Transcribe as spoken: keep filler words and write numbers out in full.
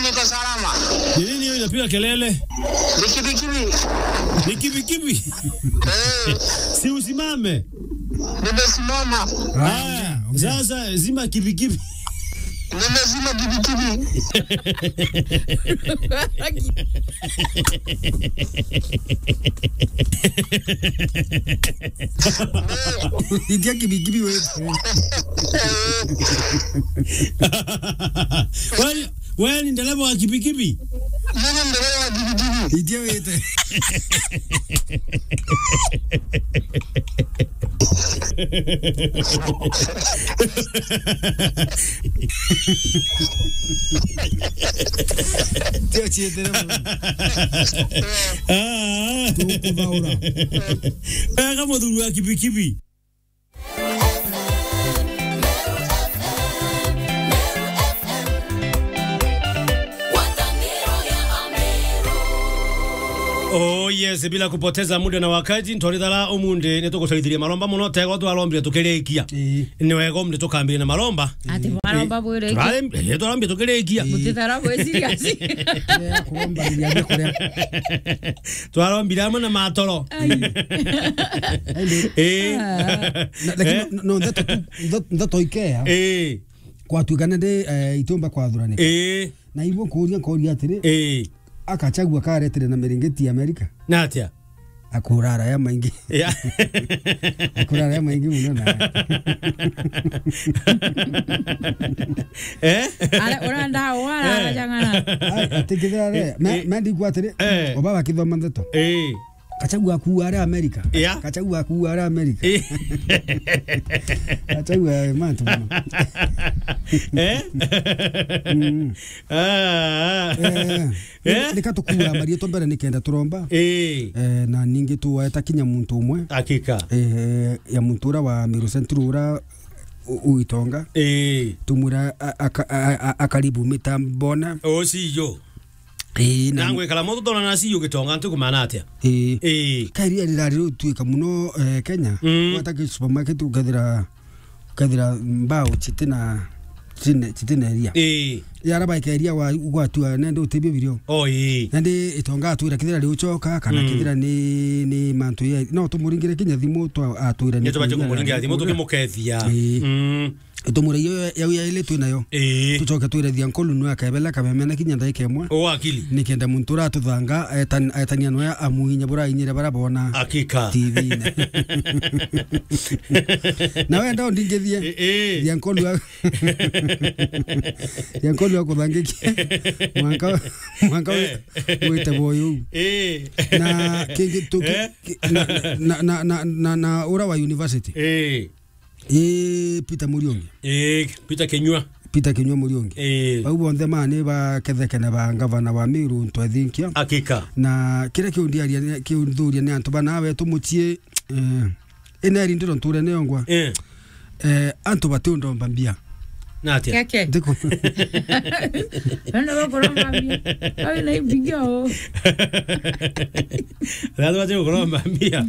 Niko salama. Ni nini hiyo inapiga kelele? Ni kibikibi. Ni kibikibi? Eh. Si usimame. Nimesimama. Haya, sasa zima kibikibi. Nimezima kibikibi. Itia kibikibi wewe. Wewe, wewe ni dereva wa kibikibi? Mimi ni dereva wa kibikibi. Itia wete. Tio chietere. Ah. Tukuthaura. Wega muthuri wa kibikibi. Oh yes, bila kupoteza muda na wakati, ntorithara umunthi nitugucaithirie maromba muno, tego twarombire tukirikia. Ii. Ni wega umunthi tukambire na maromba. Ati maromba bwire iki? Turare-, eh, twarombire tukirikia. Ii. Mutithara bwi serious. Eh, kuromba biria bikuria. Twarombire amwe na matoro. Ai. Ai, ndio. Eh. Ah. Na, lakini eh? No, no, ndeto tu, ndeto, ndeto ikea. Eh. Kwatuikana ndi, eh, itiumba kwathuranika. Eh. Na ibo nkuria, nkuria atiri, eh, akachagua karetire na miringiti ya Amerika. Na atia? Akurara ya maingi. Ya. Akurara ya maingi muno na. Eh? Ara, urenda wara, eh, jang'ana. Ai, atikithira re, eh, me, eh, me ndigua atiri, eh, oba bakithoma ndeto. Eh. Gachagua akuua ari Amerika. Yeah. Gachagua akuua ari Amerika. Eh. Gachagua, eh, mantu muno. Eh? Mm. Ah. Eh, eh? Nika tukuua marietwa mbere nikenda turomba. Eh. Eh, na ningi tuwaeta kinya muntu umwe. Hakika. Eh, ya muntu ura wa Meru Central ura u-, uitonga. Eh. Tumwira a-, aka-, a-, a-, akaribu mitambona. O, si yo. Ii, na nangwikara moto tona na si ugitonga ntu kumana atia? Ii. Ii. Ka iria rirari rituika muno, eh, Kenya. Mm. Wata ki supermarket ukethira, ukethira mbao chitina, chitine, chitine iria. Ii. Yara baika iria wa, gwatua nende utebio birio. Oh, ii. Nende itonga atwira kithira riuchoka, kana, mm, kithira ni, ni mantu ya, no tumuringire kinya thimu twa atwira ni. Nitubatie kumuringira thimu tukimukethia. Ii. Mm. Itumura iyo yau yaili twi nayo. Ii. Tucoke twire Thiankolu nwe akebela kameme na kinya ndaika imwe. O akili. Nikenda muntu uratuthanga etan-, etania nwe amuinya burainyire bara bona. Hakika. T V-ine. Na wenda undingithie. Ii, ii. Thiankolu a-, Thiankolu akuthangikie. Mwanka, mwanka wi-, eh, wite boyu. Ii. Na kingi tu-, eh, ki-, na, na, na ura wa university. Ii. Ii, Peter Muriungi. Ii, Peter Kinyua. Peter Kinyua Muriungi. Ii. Bau bonthe ma ni bakethekene ba ngavana wa Meru Ntwethinkia. Hakika. Na kiria kiundiaria ni, kiunthuria ni antu bana wetu mucii, eh, ina eri ndiro nturene yongwa. Ii. Eh, antu batiundomba mbia. Na atia? Keke. Ndiku- Ndio kuromba mbia. Awe na mbia o. Lazima tu kuromba mbia.